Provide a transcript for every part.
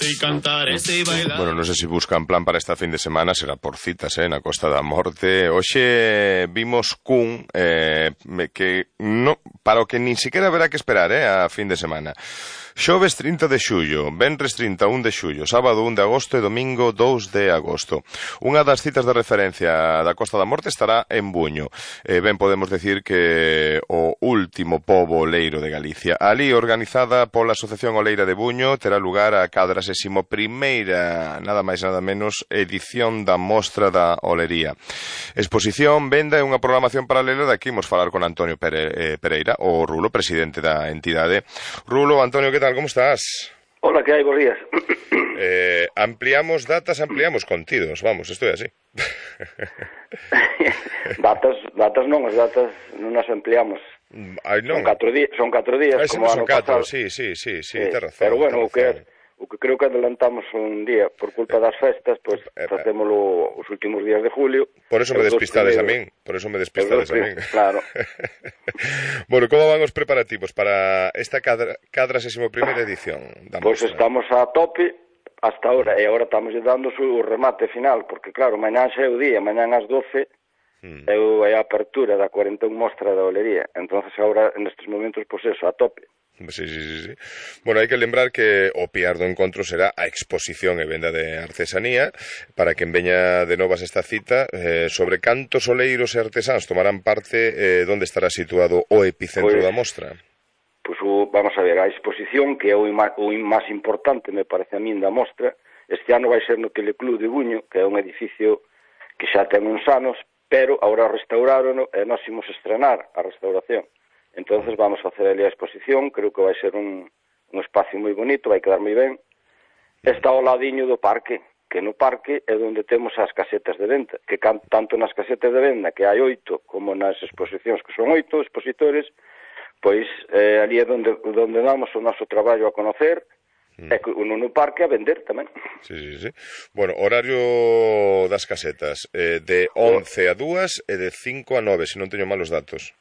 sei cantar e sei bailar. Bueno, non sei se buscan plan para esta fin de semana, será por citas, na Costa da Morte. Hoxe vimos cun que no, para o que nin siquiera haberá que esperar, a fin de semana. Xoves 30 de xullo, venres 31 de xullo, sábado 1 de agosto e domingo 2 de agosto. Unha das citas de referencia da Costa da Morte estará en Buño. Ben podemos decir que o último pobo oleiro de Galicia. Ali, organizada pola Asociación Oleira de Buño, terá lugar a 41ª, nada máis nada menos, edición da Mostra da Olería. Exposición, venda e unha programación paralela. De aquí imos falar con Antonio Pereira, o Rulo, presidente da entidade. Rulo, Antonio, que tal, como estás? Hola, que hai, bons días. Ampliamos datas, ampliamos contidos, vamos, isto é así. datas non, as datas non as ampliamos. Ai, non. Son 4 días, como ano pasado. Sí, ten razón. Pero bueno, o que creo que adelantamos un día por culpa das festas, pois facémolo os últimos días de julio. Por eso me despistades a min, Claro. Bueno, como van os preparativos para esta 41ª edición da Mostra? Pois estamos a tope hasta ahora, e agora estamos dando o remate final, porque claro, mañán xa é o día, mañán ás 12 é a apertura da 41 Mostra da Olería. Entonces agora, nestes momentos, pois eso, a tope. Sí. Bueno, hai que lembrar que o piar do encontro será a exposición e venda de artesanía. Para quen veña de novas esta cita, sobre cantos oleiros e artesáns tomarán parte, onde estará situado o epicentro da mostra? Pois vamos a ver, a exposición, que é o máis importante, me parece a min, da mostra, este ano vai ser no Teleclub de Buño, que é un edificio que xa ten uns anos, pero agora restauraron e nós imos estrenar a restauración. Entonces vamos a facer ali a exposición, creo que vai ser un espacio moi bonito, vai quedar moi ben. Está ao ladiño do parque, que no parque é onde temos as casetas de venta, que tanto nas casetas de venda, que hai 8, como nas exposicións, que son 8 expositores, pois ali é onde damos o noso traballo a conocer, e no parque a vender tamén. Sí. Bueno, horario das casetas, de 11 a 2 e de 5 a 9, se non teño malos datos.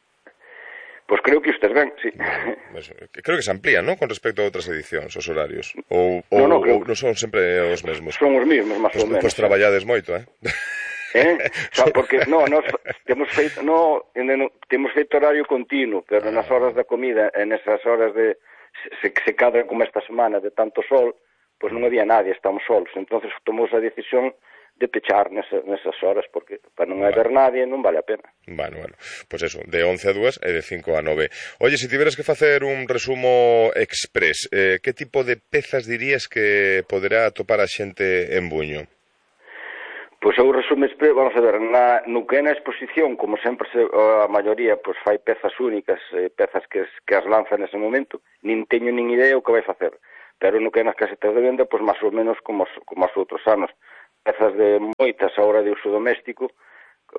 Pois creo que usted ben, sí. Creo que se amplían, ¿no?, con respecto a outras edicións, os horarios. Ou non son sempre os mesmos? Son os mesmos, máis ou menos. Pois traballades moito, Porque nos temos feito horario continuo, pero nas horas da comida, en esas horas de se cadra como esta semana de tanto sol, pois non había nadie, estamos solos. Entonces tomamos a decisión de pechar nesas horas, porque para non haber nadie non vale a pena. Bueno, pois eso, de 11 a 2 e de 5 a 9. Oye, se tiveras que facer un resumo express, que tipo de pezas dirías que poderá atopar a xente en Buño? Pois o resumo express, vamos a ver, no que é na exposición, como sempre a maioría pois fai pezas únicas, pezas que as lanza nese momento, nin teño nin idea o que vai facer, pero no que é nas casetas de venda, pois máis ou menos como os outros anos. Pezas de moitas ahora de uso doméstico,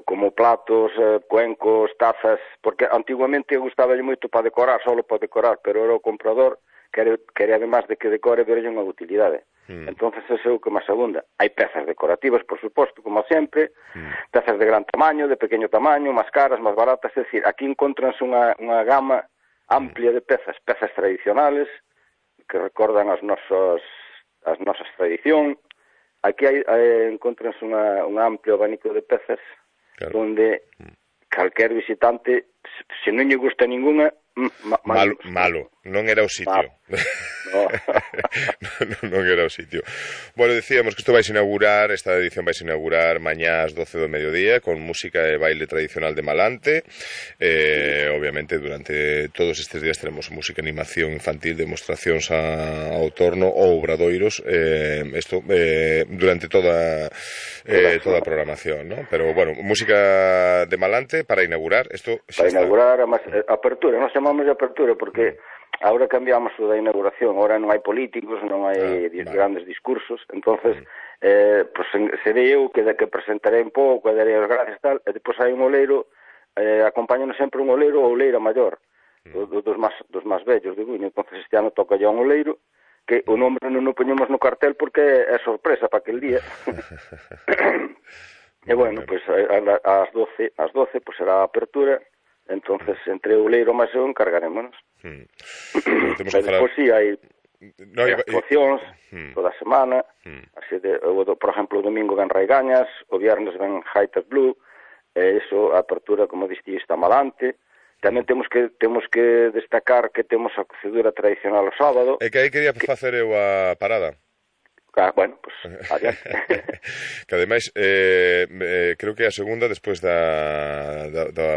como platos, cuencos, tazas, porque antiguamente gustaba moito para decorar, solo para decorar, pero era o comprador quería además de que decore verlle unha utilidade. Entonces ese é o que máis abunda. Hai pezas decorativas, por suposto, como sempre, pezas de gran tamaño, de pequeno tamaño, máis caras, máis baratas, é dicir, aquí encontranse unha gama amplia de pezas tradicionales que recordan as nosas tradicións. Aquí encontranse un amplio abanico de pezas, claro, onde calquer visitante, se non lle gusta ninguna, malo, non era o sitio. Non era o sitio. Bueno, decíamos que isto vais a inaugurar, esta edición vais a inaugurar mañá ás 12 do mediodía, con música e baile tradicional de Malante. Obviamente, durante todos estes días teremos música, animación infantil, demostracións ao torno ou obradoiros, isto durante toda a programación, ¿no? Pero, bueno, música de Malante para inaugurar, isto xa está. Para inaugurar a apertura, nós chamamos de apertura porque agora cambiamos o da inauguración, agora non hai políticos, non hai grandes discursos, entonces pues serei eu que presentarei un pouco, darei as gracias e tal, e depois hai un oleiro, acompáñanos sempre un oleiro ou oleira maior, dos máis vellos de Buño. Entonces este ano toca ya un oleiro, que o nombre non o poñemos no cartel porque é sorpresa para aquel día. E bueno, pues ás 12 pues será a apertura. Entonces, entre o leiro máis eu encargarémonos. Temos que falar... Despois, sí, hai No, hai actuacións toda a semana, así por exemplo, o domingo ven Raigañas, o viernes ven Hightech Blue, e iso, a apertura, como diste, está malante. Tamén temos que destacar que temos a cocedura tradicional o sábado. É que aí quería facer eu a parada. Bueno, pues, adiante. Que ademais, creo que é a segunda despois da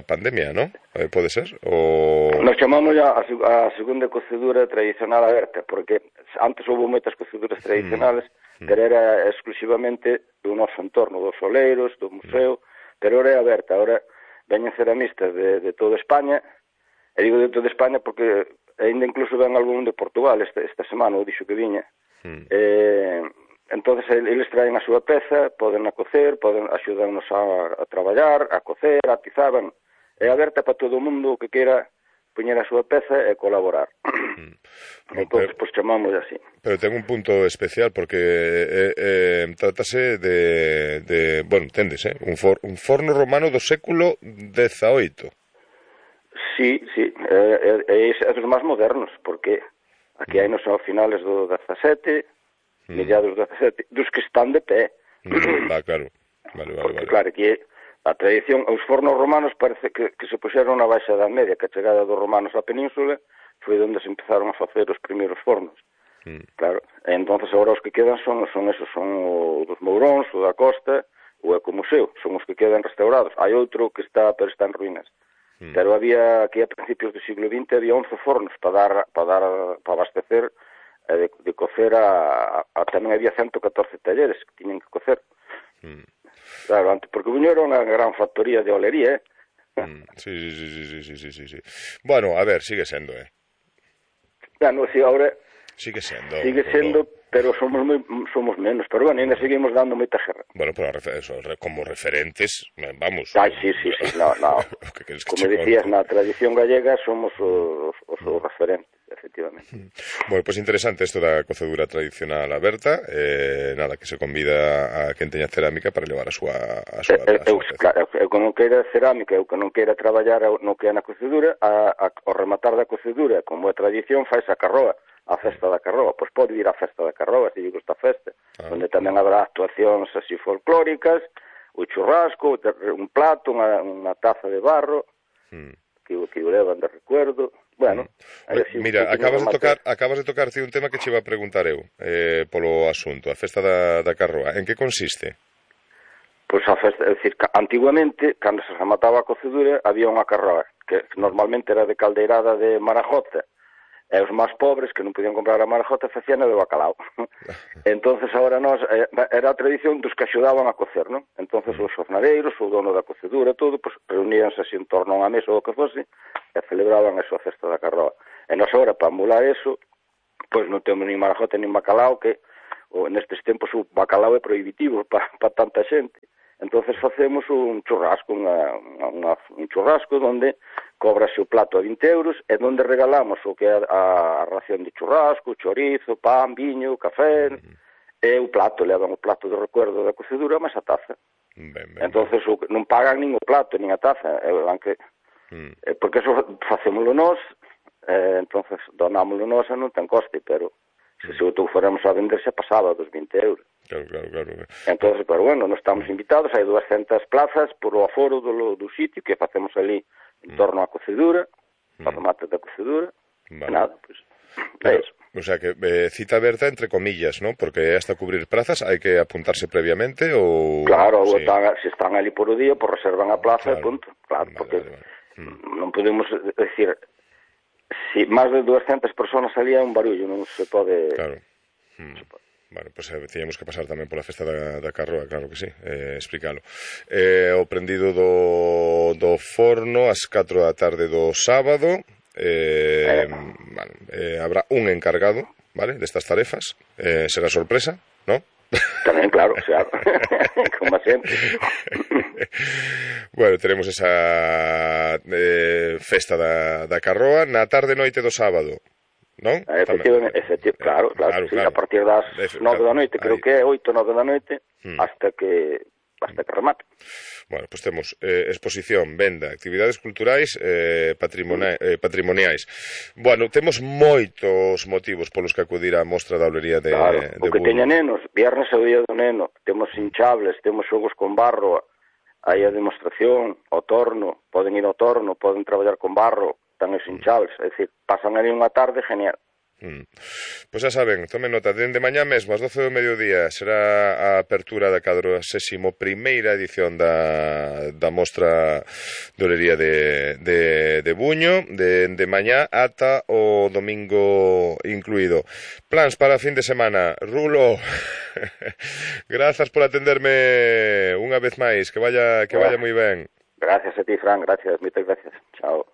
pandemia, ¿no? Pode ser? Nos chamamos a segunda cocedura tradicional aberta, porque antes houve moitas coceduras tradicionales, pero era exclusivamente do noso entorno, dos soleiros, do museo, pero ahora é aberta, ahora veñen ceramistas de toda España, e digo de toda España porque ainda incluso ven algún de Portugal esta semana, o dixo que viña. Entonces eles traen a súa peza, poden a cocer, axudarnos a traballar, a cocer, a atizar, é aberta para todo o mundo que queira poñer a súa peza e colaborar. Entonces, pues chamamos así. Pero ten un punto especial porque trátase de bueno, entendes, un forno romano do século XVIII. Sí, é dos máis modernos, porque aquí hai nos ao finales do 17, mediados do 17, dos que están de pé. Claro. Vale. Claro, aquí a tradición, os fornos romanos parece que se puxeron na Baixa Edad Media, que a chegada dos romanos á península foi onde se empezaron a facer os primeiros fornos. Claro, e entonces agora os que quedan son o dos Mouróns, o da Costa, o Ecomuseo, son os que quedan restaurados. Hai outro que está en ruínas. Pero había, aquí a principios do siglo XX, había 11 fornos para abastecer de cocer tamén había 114 talleres que tiñen que cocer. Claro, antes, porque Buño era unha gran factoría de olería, Sí. Bueno, a ver, sigue sendo, Bueno, si ahora Sigue sendo, pero somos menos, pero bueno, ainda seguimos dando moita guerra. Bueno, pero como referentes, vamos. Sí, no. Como decías, na tradición gallega somos os referentes, efectivamente. Bueno, pues interesante isto da cocedura tradicional aberta, nada, que se convida a quen teña cerámica para levar a súa Eu que non queira cerámica, eu que non queira traballar no que é na cocedura, ao rematar da cocedura, como é tradición, faz a carroa, a festa da carroa, pois pode ir á festa da carroa, se lle gusta a festa, onde tamén habrá actuacións así folclóricas, o churrasco, un plato, unha taza de barro, que o levan de recuerdo. Bueno, mira, acabas de tocar un tema que che iba a preguntar eu polo asunto, a festa da carroa. En que consiste? Pois a festa, é dicir, antiguamente, cando se remataba a cocedura, había unha carroa, que normalmente era de caldeirada de marajota, e os máis pobres, que non podían comprar a marajota, facían de bacalao. Entonces, agora era a tradición dos que axudaban a cocer, non? Entonces, os jornaleiros, o dono da cocedura, todo, pues, reuníanse así en torno a unha mesa ou o que fose, e celebraban a súa festa da carroa. E nós agora, para emular eso, pois non temos nin marajota nin bacalao, que nestes tempos o bacalao é prohibitivo para tanta xente. Entonces facemos un churrasco, un churrasco onde cobrase o plato a 20 euros e onde regalamos o que é a ración de churrasco, chorizo, pan, viño, café, e o plato, levan o plato de recuerdo da cocedura, mas a taza. Entonces non pagan nin o plato, nin a taza, porque eso facémoslo nós, entonces donámoslo nós e non ten coste, pero se outro fóramos a vender se pasaba dos 20 euros. Claro. Entonces, pero bueno, non estamos invitados, hai 200 plazas por o aforo do sitio que facemos ali en torno á cocedura, para remate da cocedura, nada, pues, é eso. O sea que cita aberta entre comillas, ¿no? Porque hasta cubrir plazas hai que apuntarse previamente ou... Claro, sí. Se están ali por o día, pues reservan a plaza e punto. Claro, porque non podemos decir, si máis de 200 personas ali é un barullo, non se pode... Claro. Bueno, pues teníamos que pasar tamén pola festa da carroa, claro que sí, explícalo. O prendido do forno ás 4 da tarde do sábado, habrá un encargado, ¿vale?, destas tarefas, será sorpresa, ¿no? Tamén, claro, xa, como sempre. Bueno, teremos esa festa da carroa na tarde noite do sábado, non? Efectivamente, claro, sí, a partir das 9 da noite, creo que é 8, 9 da noite, hasta que basta que remate. Bueno, pois temos exposición, venda, actividades culturais, patrimoniais. Bueno, temos moitos motivos polos que acudir á mostra da Olería de O que Buño. teña nenos, viernes é o día do neno, temos hinchables, temos xogos con barro, hai a demostración, ao torno, poden ir ao torno, poden traballar con barro, están os hinchables, é dicir, pasan ali unha tarde genial. Pois xa saben, tomen nota, dende mañá mesmo, ás 12 do mediodía, será a apertura da 41ª edición da mostra de Olería de Buño, de mañá ata o domingo incluído. Plans para fin de semana. Rulo, grazas por atenderme unha vez máis, que vaya moi ben. Gracias a ti, Fran, gracias, moitas gracias. Chao.